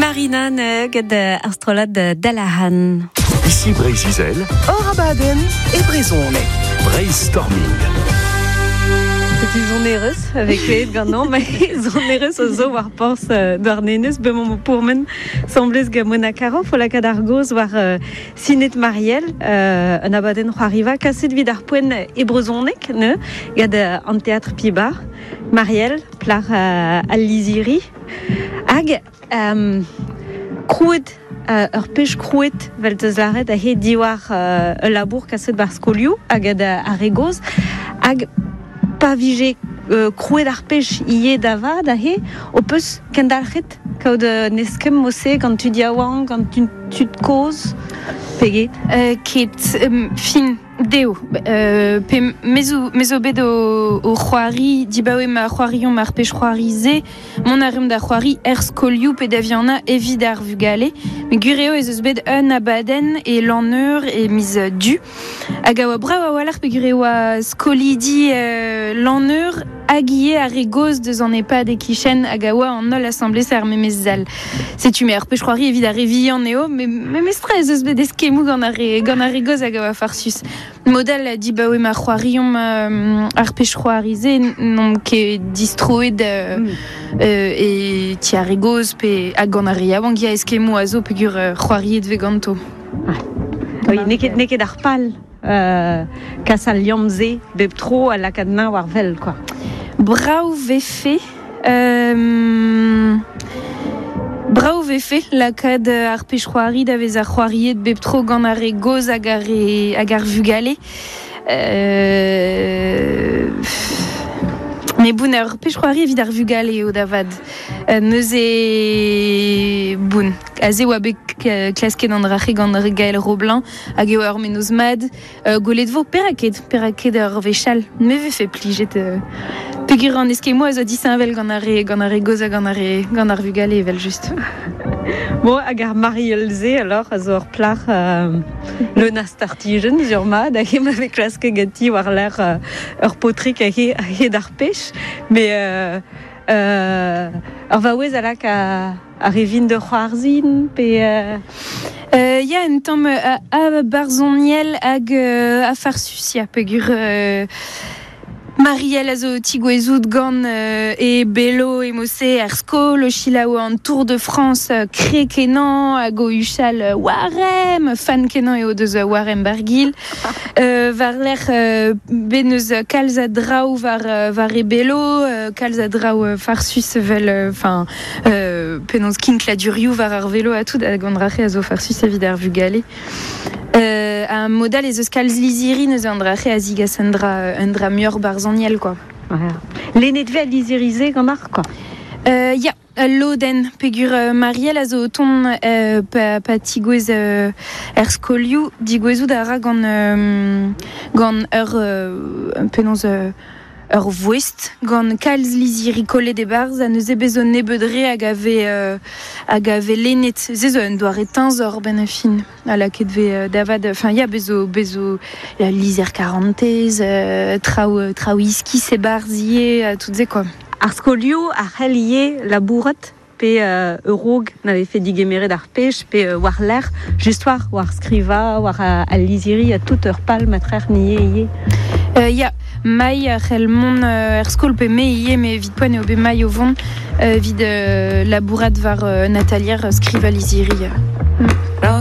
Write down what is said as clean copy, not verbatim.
Marina gant ar strollad Dalahan. Ici Breizh-Izel. Hor abadenn e brezhoneg. Breizh-Storming. Setu sonerezh a vez klevet ganeomp, met sonerezh a zo war porzh Douarnenez, bemañ o pourmen 'sambles gant Mona Caroff o lakaat ar gaoz war Sinet Marielle, un abadenn c'hoariva kaset evit ar poent e brezhoneg neuze, gant an Teatr Pibar. Marielle, plac'h al lizhiri. Hag krouet ur pech krouet, 'vel 'teus lâret, aze diwar ul labour kaset 'bar skolioù hag ar re gozh. Hag pa vije krouet ar pech ivez da vat aze, ho peus kendalc'het kaout un eskemm mod-se gant tud yaouank, gant tud kozh pe get? Ket, fin. Dezho. Pe me zo, me zo bet o, o c'hoari dibaoe ma c'hoariomp ar pezh c'hoari-se, mont a reomp da c'hoari er skolioù pe da vihanañ evit ar vugale. Met gwir eo ez eus bet un abadenn e Lanneur e miz Du hag a oa brav a-walc'h peogwir e oa skolidi Lanneur hag ivez ar re gozh deus an EHPAD e-kichen hag a oa an holl asambles er memes sal. Setu me ar pezh c'hoari evit ar re vihan eo, met memestra ez eus bet eskemmoù gant ar re, gant ar re gozh hag a oa farsus. Model dibaoe ma c'hoariomp ar pezh c'hoari-se n'omp ket distroet e ti ar re gozh pe hag gant ar re yaouank ya eskemmoù a zo peogwir c'hoariet vez ganto. Oui, n'eo ket, n'eo ket ar pal kas al liamm-se bep tro ha lakaat nañ war wel quoi. Brav vefe brav vefe lakaat ar pezh c'hoari da vezañ c'hoariet bep tro gant ar re gozh hag ar re hag ar vugale. Mais bon, ur pezh c'hoari evit ar vugale eo da vat. Neuze, bon, aze oa bet klasket an dra-se gant Gaël Roblin hag eo ur mennozh mat. Gwelet vo perak ket, perak ket ur wech all. Me vefe plijet peogwir an eskemmoù a zo disheñvel gant ar re gant ar re gozh ha gant ar re gant ar vugale evel-just. Bon, hag ar Marielle-se alors a zo ur plac'h leun a startijenn sur mat hag ema vez klasket ganti war-lerc'h ur paotrig a-hed ar pech. Mais ur vaouez a lak ar re vin da c'hoarzhin pe Ya, un tamm a barzhoniel hag a farsus ya peogwir Marielle a zo tigouezout gant e belo emose er skol o selaou an Tour de France kre-kenañ hag o huchal Warem! Fan-kenañ eo deus Warem Barguil. War-lerc'h bet n'eus kalz a draoù war war e belo, kalz a draoù farsus evel enfin penaos kinkladurioù war ar velo ha tout hag an dra-se a zo farsus evit ar vugale. Ha mod all ez eus kalz lizhiri neuze an dra-se a zigas un dra un dra muioc'h barzhoniel quoi. Lennet 'vez al lizhiri-se ganeoc'h quoi. Ya, ul lodenn peogwir Marielle a zo o tont pa, pa tigouez er skolioù digouezout a ra gant gant ur penaos ur voest gant kalz lizhiri kollet e-barzh ha neuze bez zo nebeut re hag a vez hag a vez lennet. Se zo un doare teñzor benn ar fin ha lakaet vez da vat enfin ya bez zo bez zo lizher karantez traoù traoù iskis e-barzh ivez ha tout se quoi. Ar skolioù a c'hell ivez labourat pe ur-raok na vefe digemeret ar pech pe war-lerc'h just war war skrivañ war al lizhiri ha tout ur pal matrec'h nie ivez. Ya, Mai a c'hell mont er skol pe me ivez met evit poent eo bet Mai o vont evit labourat war un atalier skrivañ lizhiri.